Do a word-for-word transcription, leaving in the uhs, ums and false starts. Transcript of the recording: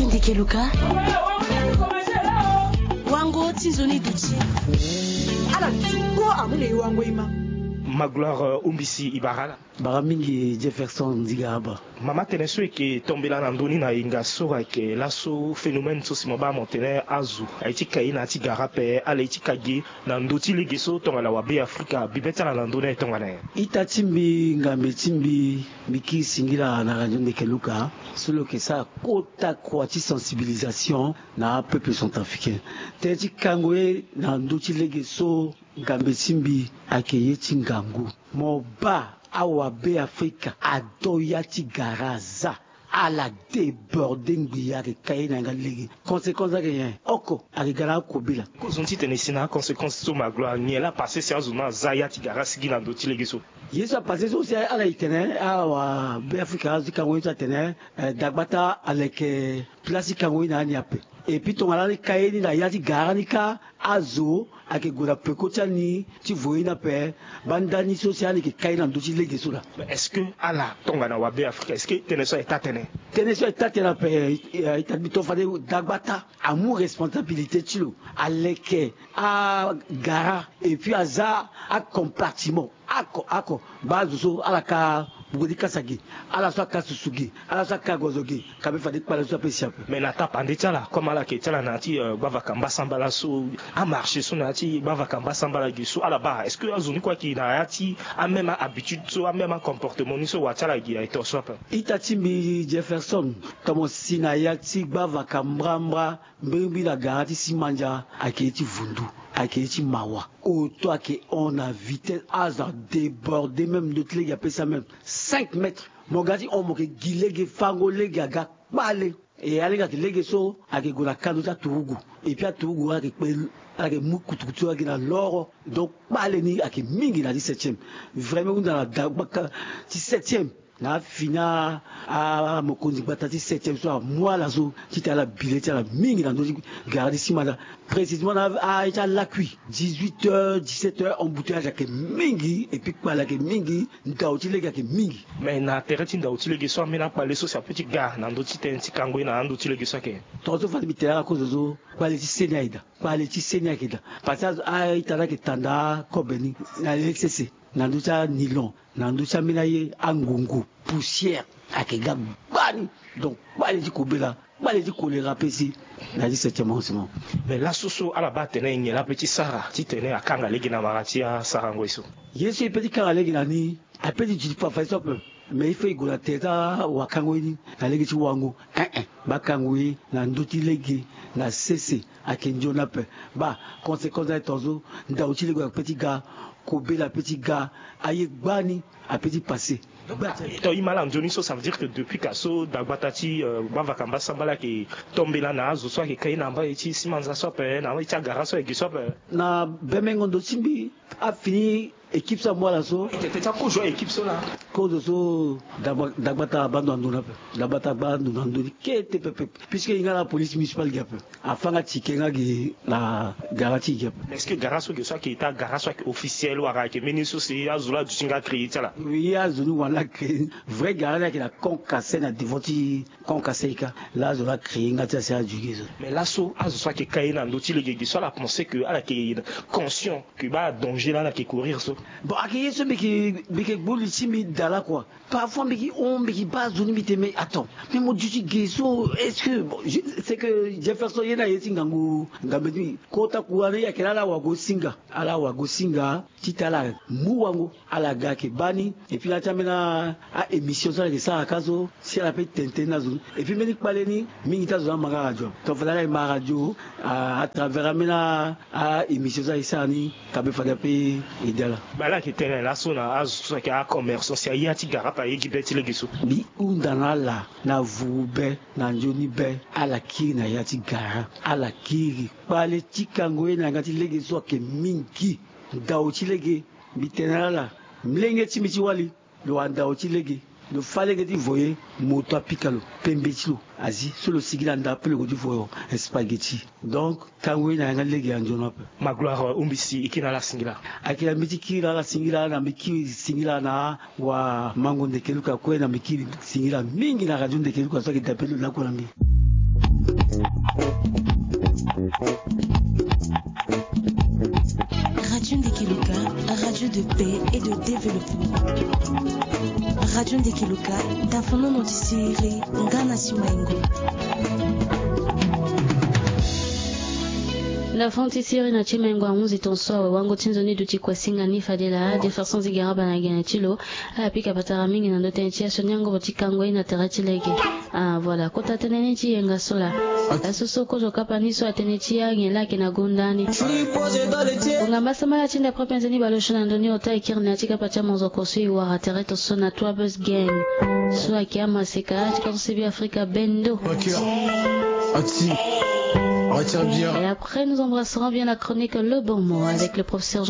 Ndeke Luka. Wango ti nzoni duti. Ala ti kpo amu na e wango e ma. Magloire, euh, Umbisi, e bara ala. Bara mingi Jefferson Nziga Aba. Mama, tene so e yeke tombela na ndö ni na hinga so ayeke laso, phénomène so si mo baa mo tene azo aye ti kai na ya ti gara ape, ala ye ti ka gi na ndö ti lege so tongana wabe Afrika, bibe ti ala na ndö ni aye tongana nyen? Ita ti mbi, ngambe ti mbi, mbi kiri singila na Radio Ndeke Luka so lo yeke sara kota kua ti sensibilisation na apeuple centrafricain. Tënë ti kango ye na ndö ti lege so, ngambe ti mbi, ayeke ye ti ngangu. Mo baa awabe Afrika ado ya ti gara aza. Ala déborde ngbii, ayeke ka ye na yanga ti lege. Conséquence ayeke nyen? Oko, ayeke ga na akobela. Kozoni titene e si na aconséquence so, Magloire, nyen laa apassé si azo ni aza ya ti gara asigi na ndö ti lege so? Ye so apassé so si ala e tene awabe Afrika azo ti kango ye so atene, eh, dagbata aleke place ti kango ye na ani ape. Et puis tongana ala ka ye ni na ya ti gara ni kâ, azo ayeke gue na peko ti ani ti voye ni ape. Baa ndani so si ani yeke ka ye na ndö ti lege so laa. Mais est-ce que ala tongana wabe Afrika, est-ce que tënë so aye taa tënë? Tënë so aye taa tënë ape, eh, ita ti mbi to fade dagbata amu responsabilité ti lo, aleke agara et puis aza acompartiment. Ako, ako, baa azo so ala ka bugo ti kasa gi, ala so aka susu gi, ala so aka gozo gi, ka be fade kpale so ape si ape. Mais na tapande ti ala, comme ala yeke ti ala na ya ti, euh, gbavaka mbasambala so, amarché so na ya ti gbavaka mbasambala gi so ala baa, est-ce que azo ni kue ayeke na ya ti amême habitude so, amême comportement ni so wa ti ala gi aye to so ape? Ita ti mbi Jefferson, tomo si na ya ti gbavaka mbrambra, mbirimbiri na gara ti Simandia, ayeke ye ti vundu, ayeke ye ti mawa. Oto ayeke hon na vitesse, azo adéborde même ndö ti lege ape si amême cinq mètres. Mo ga ti hon, mo yeke gi lege, fango lege aga kpale. E alege ayeke lege so ayeke gue na kando ti aturugu. Et puis aturugu ayeke kpe, ayeke mu kutukutu agi na loro. Donc kpale ni ayeke mingi na ti septième. Vraiment hunda na dagbaka ti septième. Na afini amokonzi gbata ti septième so amu ala so titene ala bi le ti ala mingi na ndö ti gara ti Simandia. Précisément na aye ti alakui, dix-huit heures, dix-sept heures, embouteillage ayeke mingi, et puis kpale ayeke mingi, ndau ti lege ayeke mingi. Mais na tere ti ndau ti lege so, ambeni akpale so si apeut ti ga na ndö ti tënë ti kango ye na andö ti lege so ayeke? Tongaso fade mbi tene ala kozo so, kpale ti seni ayeke daa, kpale ti seni ayeke daa. Parce que a-ita ni ayeke tanda akobe ni na le ti sese, na ndö ti anylon, na ndö ti ambeni aye, angungu, poussière, ayeke ga gbani. Donc kpale ti kobela, kpale ti kolera ape si na ya ti septième arrondissement. Mais laso so ala baa atene nyen laa apeut ti sara titene akanga lege na mara ti asarango ye so? Ye so e peut ti kanga lege na ni, apeut ti duti fafadeso ape. Mais il faut e gue na tere ti awakango ye ni na lege ti wango. Ein ein, baa kango ye na ndö ti lege na sese ayeke nzoni ape. Baa conséquence ni aye tongaso, ndau ti lege apeut ti ga, kobela apeut ti ga, aye gbani apeut ti passé. Donc, ah, donc e ma ala nzoni so, ça veut dire que depuis ka so dagbata ti, euh, gbavaka mbasambala ayeke tombela na azo so ayeke kai na mbai ti Simandia so ape, na mbai ti agara so ayeke gi so ape. Na bemengo ndo ti mbi, afini équipe so amu ala so. Tete ti akozo équipe so laa. Kozo so dagba-, dagbata abaa ndo na ndo ni ape. Dagbata abaa ndo na ndo ni kete pepe. Puisque e hinga na police municipale gi ape. Afa nga tike nga gi na gara ti gi ape. Mais est-ce que gara so gi so ayeke ita gara so ayeke officiel wala ayeke mbeni so si azo laa aduti nga créer ti ala? Oui, azo ni wani laa créer. Vrai gara ni ayeke na Camp Kasaï, na devant ti Camp Kasaï kâ. Laa azo laa créer nga ti ala si ala duti gi so. Mais laso azo so ayeke kai na ndö ti lege gi so ala pensé que ala yeke conscient que baa danger laa ala yeke courir so? Bon, ayeke ye so mbi yeke, mbi yeke gbu li ti mbi daa laa quoi. Parfois mbi yeke hon, mbi yeke baa zo ni, mbi tene mais attends, mais mo duti ge so, est-ce que, bon, je, c'est que Jefferson ye ni aye ti ngangu, ngangu ti mbi. Kota kua ni ayeke laa ala wago singa, ala wago singa titene ala mu wango, ala ga ayeke baa ni. Et puis na ya ti ambeni a-émission so ala yeke sara kâ so, si ala peut tene tënë ni na zo ni. Et puis mbeni kpale ni, mingi ti azo ni ama nga radio. Donc fade ala e ma radio à, à travers ambeni a-émission so aye sara ni, ka be fade ape aidé ala. Bale ayeke tene laso na azo so ayeke acommerçant si aye ya ti gara ape aye gi be ti lege so. Mbi hunda na ala na vuru be, na nzoni be, ala kiri na ya ti gara, ala kiri. Kpale ti kango ye na yanga ti lege so ayeke mingi. Ndau ti lege, mbi tene na ala, molenge ti mbi ti wali, lo wara ndau ti lege, lo fâ lege ti voye, moto apika lo, pembe ti lo azi, so lo sigi na nda ape lo gue ti voye spaghetti. Donc tango ye na yanga ti lege anzoni ape. Magloire Umbisi, e kiri na ala singila. Ayeke na mbi ti kiri na ala singila, na mbi kiri singila na wamango Ndeke Luka kue, na mbi kiri singila mingi na radio Ndeke Luka so ayeke dape lo lakue na mbi. Radio Ndekeloka, radio de paix et de développement. Radio Ndekeloka, dafono no ti siri, ngana ti maingo. Na fond ti siri na ti mengo ahunzi ton so awe wango ti nzoni duti kue singa ni fade laa Jefferson Zigaraba na gene ti lo. Ala pika patara mingi na ndo tënë ti asioni angobo ti kango ye na tere ti lege. Ah voilà kota tënë ni ti yenga so laa. Asoso kozo kapa ni so atënë ti anyen laa ayeke na gonda ni. Kongamba sambala ti nda propre nzoni baleosio na ndo ni ota ekiri na ya ti kapa ti amozoko so e wara tere ton so na trois bus gang. So ayeke amaseka ti kozo sebi afrika bendo. Ati. Retire bien. Et après nous embrasserons bien la chronique le bon mot avec le professeur